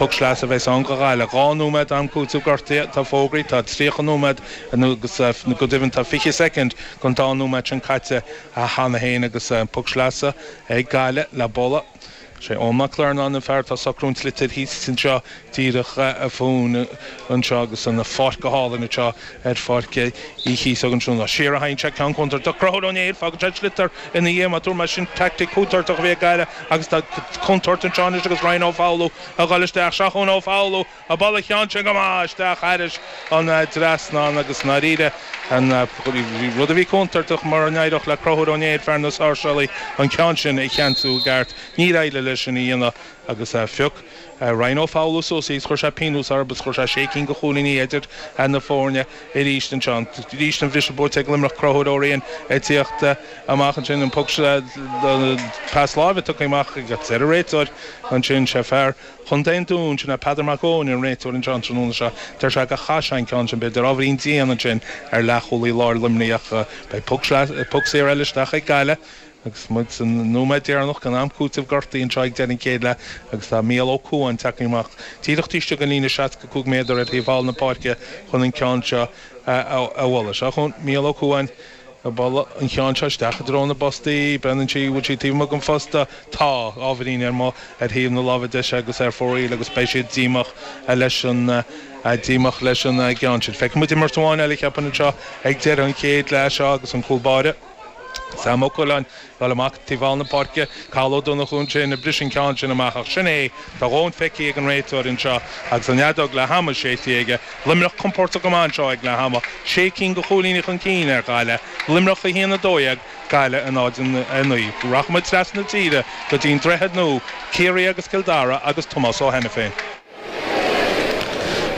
Poc sleasa a bheas ann do Ghaillimh. 2 nóiméad am cúitimh gortaithe atá fógraithe. Tá 30 nóiméad agus go deimhin tá 20 soicind den dá nóiméad sin caite cheana féin agus poc sleasa ag Gaillimh le bualadh. Sé Eoin Mac Lornáin an fear atá ag socrú an tsliotair thíos anseo díreach fúinn anseo agus an pháirc go hálainn anseo ar Pháirc Uí Chíosóg ansin. Siar a théann sé, ceann contúirteach. Conchúr Ó Néill, fágann sé an sliotar ina dhiaidh. Má dúirt mé sin teaictic chontúirteach a bhí ag Gaillimh agus tá contúirt anseo anois agus Ryan Ó Foghlú ag dhul isteach. Seo chugainn Ó Foghlú ag bualadh an cheann sin go maith isteach thairis an dtrasnán agus i ndáiríre an rud a bhí contúirteach mura n-éireodh le Conchúr Ó Néill, fear na Sáirséalaí, an ceann sin a cheansú i gceart. Níor éirigh leis sin a dhéanamh agus phioc Ryan Ó Foghlú suas í agus chuir sé pionós orthu agus chuir sé sé cinn de chúilíní idir na foirne arís anseo. Arís an bhriseadh buailte ag Luimneach Conchúr Ó Riain ag tíocht amach ansin an poc pas láimhe tugtha amach ag an réiteoir ansin. Sé fear Chontae an Dúin, sin é Peadar Mac Eoin an réiteoir anseo an tráthnóna seo. Deir sé gur chaith sé an ceann sin b'fhéidir ábhairín dian ansin ar leathchúlaí láir Luimnigh ach beidh poc saor eile isteach ag Gaillimh. Agus muid sa nóiméad deireanach den am cúitimh gortaithe anseo ag deireadh an chéad leath agus tá Mícheál Ó Cuain tagtha amach díreach taobh istigh den líne 65 méadar ar thaobh thall na páirce chun an ceann seo a bhualadh. Seo chugainn Mícheál Ó Cuain ag bualadh an cheann seo isteach i dtreo na bpostaí. Breathnaíonn sí, bhfuil sí taobh amuigh den phosta? Tá, ábhairín ar amuigh ar thaobh na láimhe deise agus ar fóraoil agus beidh siad díomách leis an díomách leis an gceann sin. Feicfidh muid imirt amháin eile cheapfainn anseo ag deireadh an chéad leath seo agus an cúl báire. Sam Ó Coileáin ag dul amach taobh thall na páirce, Cathal Ó Donnchú ansin ag briseadh an ceann sin amach ach sin é, tá a dhóthain feicthe ag an réiteoir anseo agus an fheadóg leath ama séidte aige. Luimneach compordach go maith anseo ag leath ama, sé cinn de chúilíní chun cinn ar Ghaillimh, Luimneach 1-12, Gaillimh 0-9. Rachaidh muid trasna na tíre go dtí an Droichead Nua, Ciarraí agus Cill Dara agus Tomás Ó hAiniféin.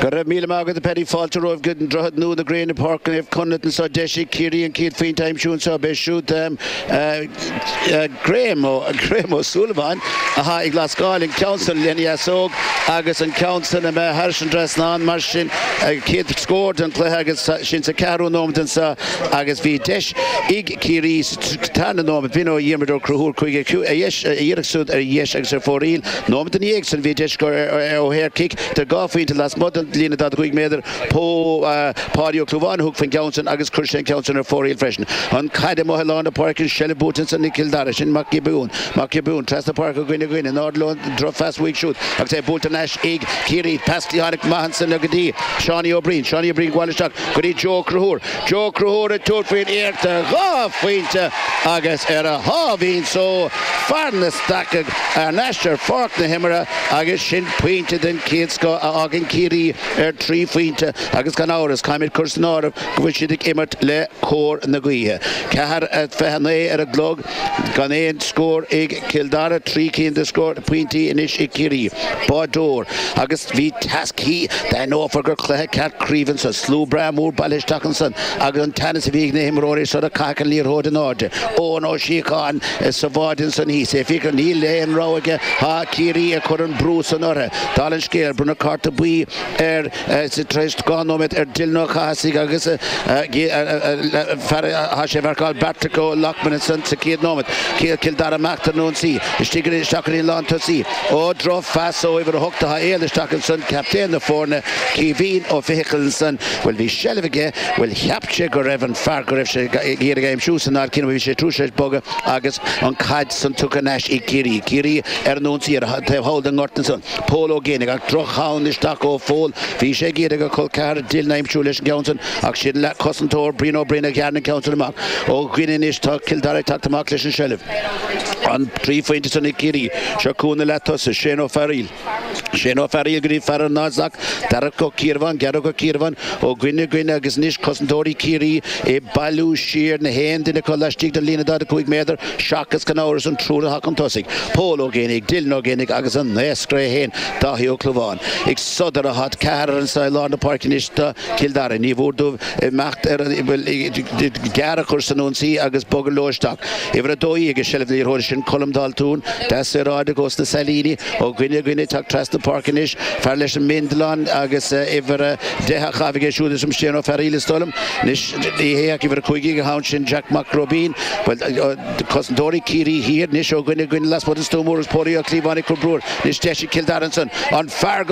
Go raibh míle maith agat a Paddy. Fáilte romhaibh go an Droichead Nua na gréine Páirc Naomh Conleth anseo. Deis ag Ciarraí an chéad phointe a aimsiú anseo. B'é siúd Graham Ó Graham Ó Súilleabháin atá ag lascáil an ceann san lena dheasóg agus an ceann san imithe thairis an dtrasnán. Mar sin chéad scór den chluiche agus sin sa ceathrú nóiméad anseo agus bhí deis ag Ciarraí sa tarna nóiméad. B'in ó Dhiarmuid Ó Conchúir chuige a iarracht siúd ar dheis agus ar fóraoil. Nóiméad ina dhiaidh san bhí deis acu ó shaor-chic idir dhá phointe lasmuigh den líne 45 méadar. Páidí Ó Clúmháin a thug faoin gceann san agus chuir sé an ceann san ar fóraoil freisin. An chaid amuigh i lár na páirce, an seilbh buaite ansan ag Cill Dara. Sin Mac Giobúin. Mac Giobúin trasna páirce ó dhuine go dhuine. In airde leo an droch-phas uaidh siúd agus é buailte thar n-ais ag Ciarraí. Pas cliatháin maith ansan go dtí Seánie Ó Briain. Seánie Ó Briain ag gabháil isteach go dtí Joe Ó Conchúir. Joe Ó Conchúir ag tabhairt faoin iarracht dhá phointe agus ar a sháimhín só fear na Staiceach thar n-ais ar pháirc na himeartha agus sin pointe den chéad scoth a fhágann Ciarraí ar thrí phointe agus gan amhras caithfimid cur san áireamh go bhfuil siad ag imirt le cóir na gaoithe. 4:29 ar an gclog gan aon scór ag Cill Dara, trí cinn de scór pointí anois ag Ciarraí. Bádóir agus bhí teas D'aithneofar gur cluiche ceart craoibhe ansan. Slua breá mór bailithe isteach ansan agus an teannas a bhí ag na himreoirí sula caitheadh an liathróid in airde. Eoin Ó Síocháin sa bhád ansan thíos. É fiacail níl aon rogha aige. Tá Ciarraí ag cur an brú san orthu. Dála an scéil, bronnadh cárta buí ar tar éis 2 nóiméad ar Dylan Ó Cathasaigh agus fear tá sé ag marcáil Beairtle Ó Loughman ansan sa chéad nóiméad. Cill Dara amach ar an ionsaí. Istigh isteach go dtí an lántosaí. Ó, droch-phas ó uimhir 8 atá éalaithe isteach ansan, captaen na foirne, Caoimhín Ó Fiachail ansan. Bhuel, bhí seilbh aige, bhuel, cheap sé go raibh an fear go raibh sé ag iarraidh a aimsiú san áit céanna, bhí sé tar éis bogadh agus an chaid san tugtha thar n-ais ag Ciarraí. Ciarraí ar an ionsaí ar an taobh thall den ngort ansan. Pól Ó Géibheannaigh ach droch-cheann isteach ó Phól. Bhí sé ag iarraidh a chol ceathar Dylan a aimsiú leis an gceann san ach sin leath-chosantóir Brian Ó Broin a ghearrann an ceann san amach. Ó dhuine anois tá Cill Dara ag teacht amach leis an seilbh. An 3 phointe san ag Ciarraí. Seo chugainn an leath-tosaí, Shane Ó Fearghaíl. Shane Ó Fearghaíl go dtí fear an 0 Darach Ó Ciarbháin, Gearóid Ó Ciarbháin ó dhuine go dhuine agus anois cosantóirí Chiarraí ag bailiú siar na haon duine acu laistigh den líne 45 méadar seachas gan amhras an triúr atá chun tosaigh, Pól Ó Géibheannaigh, Dylan Ó Géibheannaigh agus an naoscaire é féin, Dáithí Ó Clúmháin. Ag sodar atá ceathrar anseo i lár na páirce anois do Chill Dara. Ní mhór dóibh imeacht ar an, bhuel, gearr a chur san ionsaí agus bogadh leo isteach. Uimhir 12 i seilbh na liathróide sin Colm Daltún, deas saoráideach ós na Sailíní, ó dhuine go dhuine ag teacht trasna. trasna páirce anois, fear leis an mbindealán agus uimhir 10 á chaitheamh aige siúd is Shane Ó Fearaíl is dóigh liom. Anois ní hé ach uimhir 15 an t-am sin, Jack Mac Róibín. Bhuel, cosantóirí Ciarraí Thiar anois ó dhuine go dhuine lasmuigh den stua mór agus Póilí Ó Cíobháin ag cur brú air. Anois deis ag Cill Dara ansan. An fear go.